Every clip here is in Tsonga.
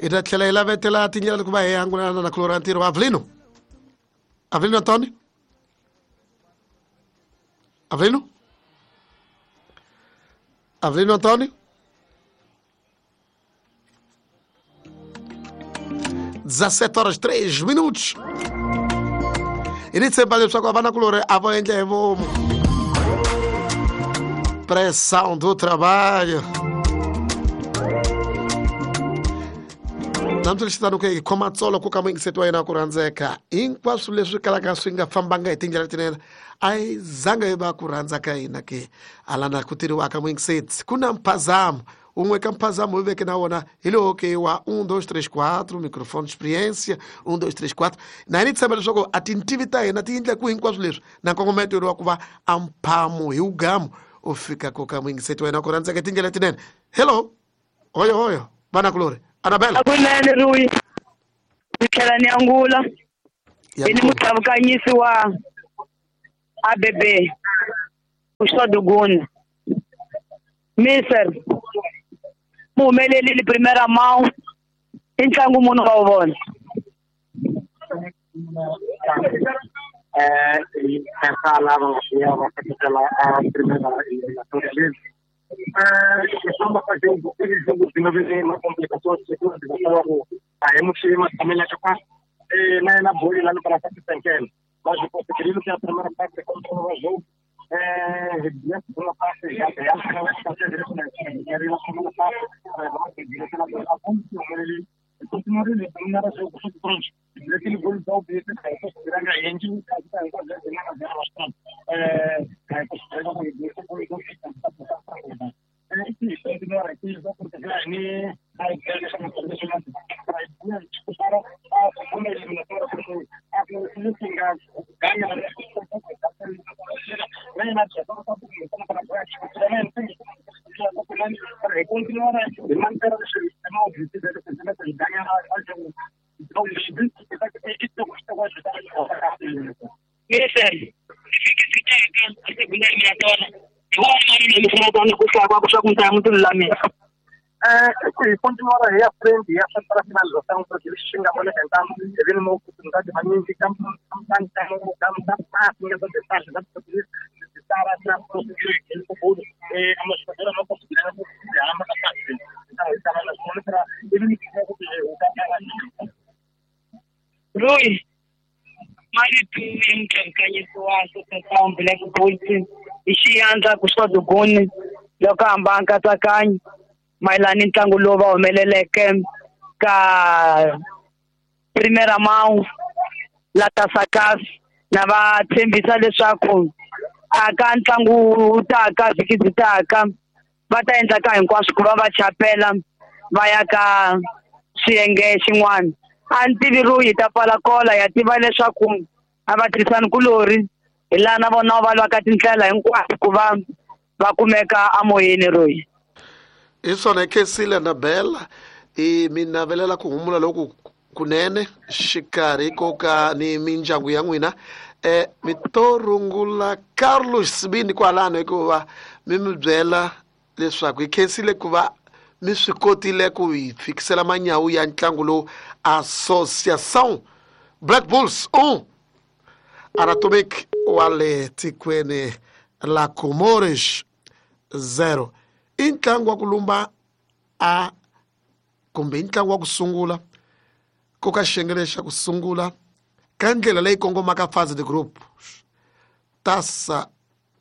Hi ta tlhela hi lavetela tindlela ku va hi angulana na kulora ntirho. Avelino, Avelino Antônio, Avelino, Avelino Antônio. 17 horas 3 minutos. Hi ni tshemba leswaku a va na kulori a vo endla hi vomu. Pressão do trabalho. Namuntlha lexi tano ke hi khoma tsolo ku ka muyingiseti wa yena ku rhandzeka hinkwaswo leswi kalaka swi nga fambanga hi tindlela letinene a yi zanga yi va ku rhandza ka hina ke alana ku tirhiwaka muyingiseti ku na mphazamo wun'we ka mphazamo wu veke na wona hi lowo ke wa 1 2 3 4 microfone experiência 1 2 3 4 na hi ni tshemba leswaku a tintivi ta hina ti endla ku hinkwaswo leswi na nkongometo wa ku va a mphamo hi wugamu u fika ko ka muyingiseti wa yena ku rhandzeka tindlela letinene. Hello, hoyo hoyo vanakulori Anabela. Kunene Rui, ni tlhela ni angula Ya. Ni mutavukanyisi wa ABB Uswaduguni Mister muhumelelile primera mão i ntlangu muni wa wu vona? Hi khensa lava nga siya va seketela a primera eliminatória lezi. Ku famba ka jogo, i jogo byi nga vi na complicações security ku a hi muxi matshamelaka kahle na yena boli la para senkele, mas conseguiram que a primeira parte controla o jogo. Na segunda parte já já a segunda parte continuar ele dominar o jogo pronto. Aquele gol da UB, considerando a gente, bastante. Continuar aqui, porque a igreja não disputar a segunda eliminatória, porque a ganha continuar a manter o objetivo de ganhar o líder. Mister, a segunda eliminatória hi wona ku swa ku ntlangu ti lulamisa. Hi continuar hi ya frente ya para finalização, porque eles xingam a bola tentando ele não oportunidade manyingi Rui, marito ya mutlankanyiso wa Associação Black Bulls hi xiyandla ku swaduguni loko hamba nkatsakanyo mayelana ni ntlangu lowu va humeleleke ka primera mão la Tasakas, na va tshembisa leswaku a ka ntlangu wu taka vhiki byi taka va ta endla ka hinkwaswo ku va va chapela va ya ka xiyenge xin'wana. A ni tivi Rui hi ta pfala kola ya tiva leswaku a va tirhisani kulori hi laha na vona va lwaka tindlela hinkwato ku va va kumeka amoyeni Rui. Hi swona khensile Anabela, i mi navelela ku humula loku kunene xikarhi ko ka ni mindyangu ya n'wina. Mi to rungula Carlos Sibini kwalano hikuva mi mi byela leswaku hi khensile ku va mi swi kotile ku hi fikisela manyawu ya ntlangu lowu Associação Black Bulls 1 Anatomic wa le tikweni la Comores 0. I ntlangu wa ku lumba a kumbe i ntlangu wa ku sungula ku ka xiyenge lexi xa ku sungula ka ndlela leyi kongomaka fase de group Taça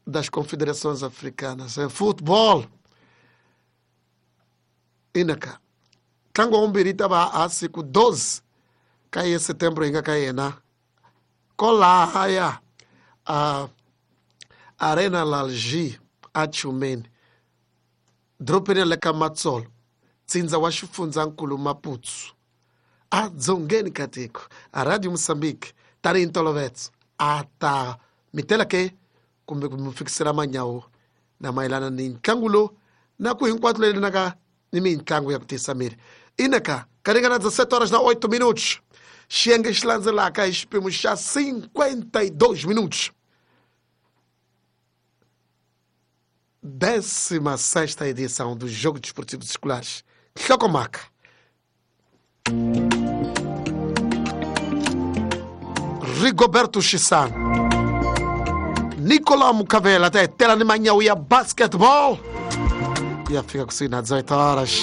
das Confederações Africanas em futebol. Inaka ntlangu wa vumbirhi ta va a siku 12 ka ye setembro hi nga ka yena kolahaya a Arena Lalji a Chumeni dorobeni le ka Matsolo tsindza wa xifundzankulu Maputo a dzongeni ka tiko. A Radio Moçambique tanihi ntolovelo a ta mi tela ke kumbe ku mi fikisela manyawu na mayelana ni ntlangu lowu na ku hinkwato leyi naka ni mintlangu ya ku tisa miri. Inaka ka ringana 17 horas na 8 minutos. Xiyenge xi landzelaka hi xiphemu xa 52 minutos. 16ª edição do Jogo Desportivo Escolares. Hlokomhaka. Rigoberto Chisano, Nicolau Mucavela ta hetela ni manyawu ya basketball ku ya fika kusuhi na 18 horas.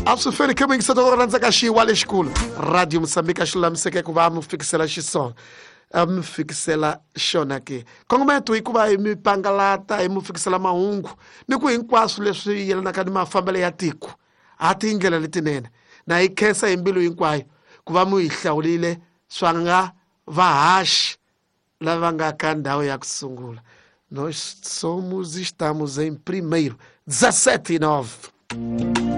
A swi feli khe muyingiseti ku rhandza ka xiwa lexikulu Radio Mosambika xi lulamiseke ku va mi fikisela xiswona, a mi fikisela xona ke. Kongometo i ku va hi mi pangalata, hi mi fikisela mahungu ni ku hinkwaswo leswi yelanaka ni mafambelo ya tiko ha tindlela letinene. Na hi khensa hi mbilu hinkwayo ku va mi hi hlawulile swa nga vahaxi lava nga ka ndhawu ya ku sungula. Nós somos, estamos em primeiro. 17 e 9.